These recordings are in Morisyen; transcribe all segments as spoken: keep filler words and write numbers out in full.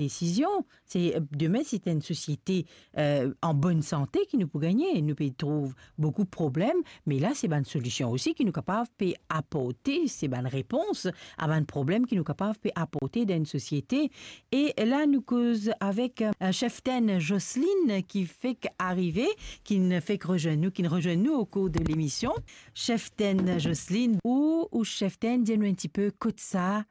desizion. Se, eh, demin, se enn sosiete, eh, an bonn sante ki nou pou gagne. Nou pe trouv boukou problem, me la, se bann solision osi ki nou kapav pe aporte, se bann repons a bann problem ki nou kapav pe aporte dan enn sosiete. E la, nou koz avek, eh, cheftenn Jocelyne ki fek arive, ki'nn fek rezwenn nou, ki'nn rezwenn nou o kour de lemision. Cheftenn Jocelyne, ou, ou cheftenn, dir nou enn tipe kot sa,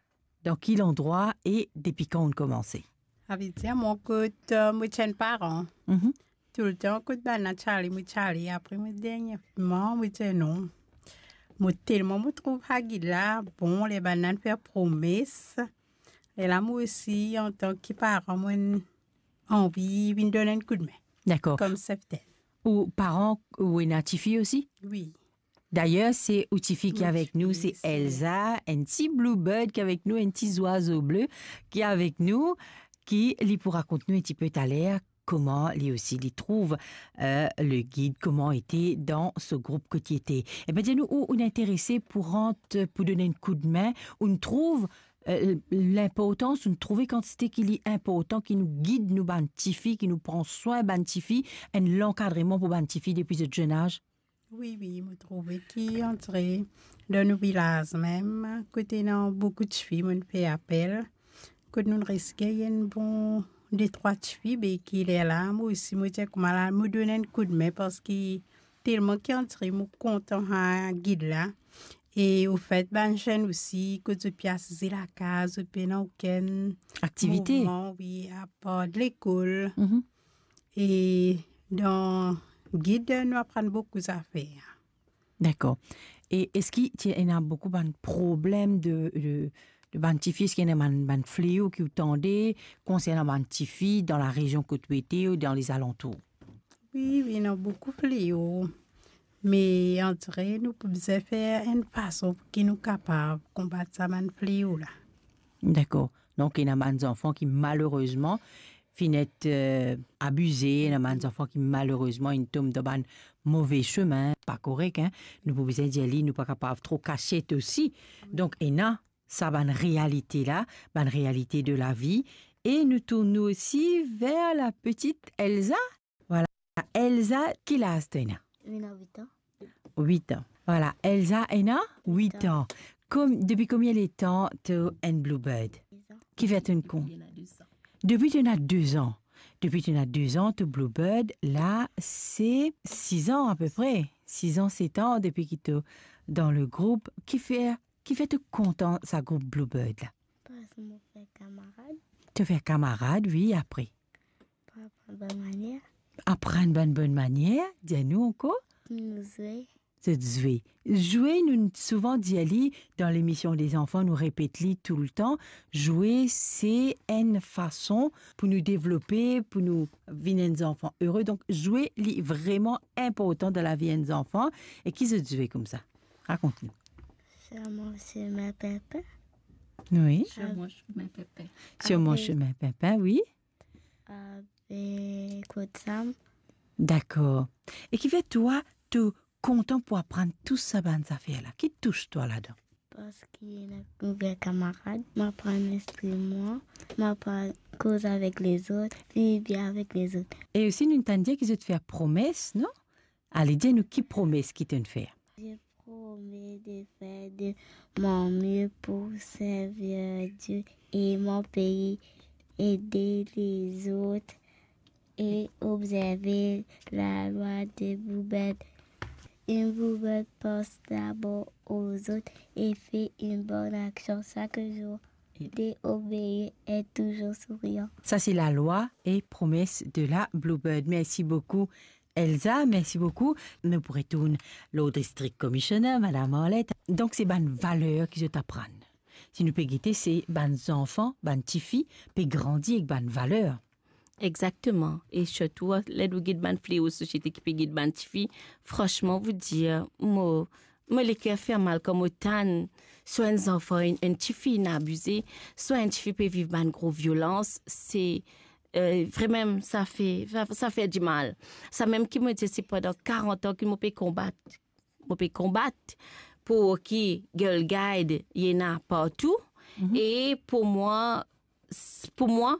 dan ki landrwa e depi kan ou'nn koumanse? Savedir mo kot, eh, mo ti enn paran. Mhm. Toultan kot bann-la ti ale, mo ti ale, apre mo derniereman, mo dir non. Mo telman mo trouv sa gid la bon, ler bann-la fer promes. Lerla mo osi, antan ki paran, mo anvi vinn donn enn koudme. Dakor. Kom cheftenn. Ou paran, ou ena tifi osi? Wi. Dayer, se ou tifi ki avek nou, se Elsa, enn ti bluebird ki avek nou, enn ti zwazo ble ki avek nou, ki li pou rakont nou enn tipe taler kouma li osi li trouv, eh, le gid, kouma ete dan so group kot li ete. Ebin, dir nou, ou, ou interese pou rant, pou donn enn koudme, ou'nn trouv, eh, linportans, ou'nn trouve kantite ki li inportan ki nou gid nou bann tifi, ki nou pran swin bann tifi, enn lankadreman pou bann tifi depi zot zenn az? Wi, wi, mo trouve ki antre dan nou vilaz mem, kot ena boukou tifi, mo'nn fer apel, kot nou riske enn bon de trwa tifi, be ki lerla, mo osi, mo dir kouma la, mo donn enn koudme, parski telman ki antre, mo kontan sa gid la. E ofet, bann zenn osi, kot zot pe asize lakaz, zot pena okenn aktivite, mouvman, wi, apar lekol. Mhm. E dan gid, nou aprann boukou zafer. Dakor. E eski ti ena boukou bann problem de, de, de bann tifi? Eski ena bann, bann fleo ki ou tande konsernan bann tifi dan larezion kot ou ete ou dan lezalantour? Wi, wi, ena boukou fleo. Me antre nou pou bizin fer enn fason pou ki nou kapav konbat sa bann fleo la. Dakor. Donk, ena bann zanfan ki malerezman finn et, eh, abize, ena bann zanfan ki malerezman inn tom dan bann move semin, pa korek, hein. Nou pou bizin dir li, nou pa kapav tro kasiet osi. Donk, ena sa bann realite la, bann realite de lavi, e nou tourn nou osi ver la petite Elsa. Vwala, Elsa, ki laz to ena? Ena wit an. Wit an. Vwala, Elsa ena wit an. Kom, depi konbien letan to enn bluebird? Dez an. Kifer to'nn kontan? Depi ena dez an. Depi ena dez an. Depi ena dez an, to bluebird, la, se siz an apepre. Siz an, set an, depi ki to dan le group. Kifer, kifer to kontan sa group bluebird la? Parski mo fer kamarad. To fer kamarad, wi, apre? Pou aprann bann manier. Aprann bann bonn manier, dir nou ankor. Nou zwe. Zot zwe. Zwe, nou souvan dir li, dan lemision de zanfan, nou repet li toultan. Zwe, se enn fason pou nou devlope, pou nou vinn enn zanfan ere. Donk, zwe, li vreman inportan dan lavi enn zanfan. E ki zot zwe koumsa? Rakont nou. Sur mon chemin pimpin. Wi. Sur mon chemin pimpin. Sur mon chemin pimpin, wi. Avek Roxane. Dakor. E kifer twa, to kontan pou aprann tou sa bann zafer la? Ki tous twa ladan? Parski ena nouvel kamarad, mo aprann lespri mwa, mo aprann koz avek lezot, viv bien avek lezot. E osi, nou tann dir ki zot fer promes, non? Ale, dir nou ki promes ki to'nn fer. Je promets de faire de mon mieux pour servir Dieu et mon pays, aider les autres et observer la loi de bluebird. Une bluebird pense d'abord aux autres et fait une bonne action chaque jour. De obéir et toujours souriant. Sa se lalwa e promes de la bluebird. Mersi boukou, Elsa, mersi boukou. Nou pou retourn lor District Commissioner, Madam Arlette. Donk, se bann valer ki zot aprann. Si nou pe gete, se bann zanfan, bann tifi, pe grandi ek bann valer. Exactement. E sirtou, ler nou gete bann fleo sosiete ki pe gete bann tifi, franchement, vous dire, mo, mo leker fer mal kan mo tann swa enn zanfan, enn, enn tifi inn abize, swa enn tifi pe viv bann gro violans, se, eh, vremem, sa fer, sa, sa fer dimal. Samem ki mo dir, se pandan karant an ki mo pe konbat. Mo pe konbat pou ki Girl Guide, li ena partou. Mhm. E pou mwa, s-, pou mwa,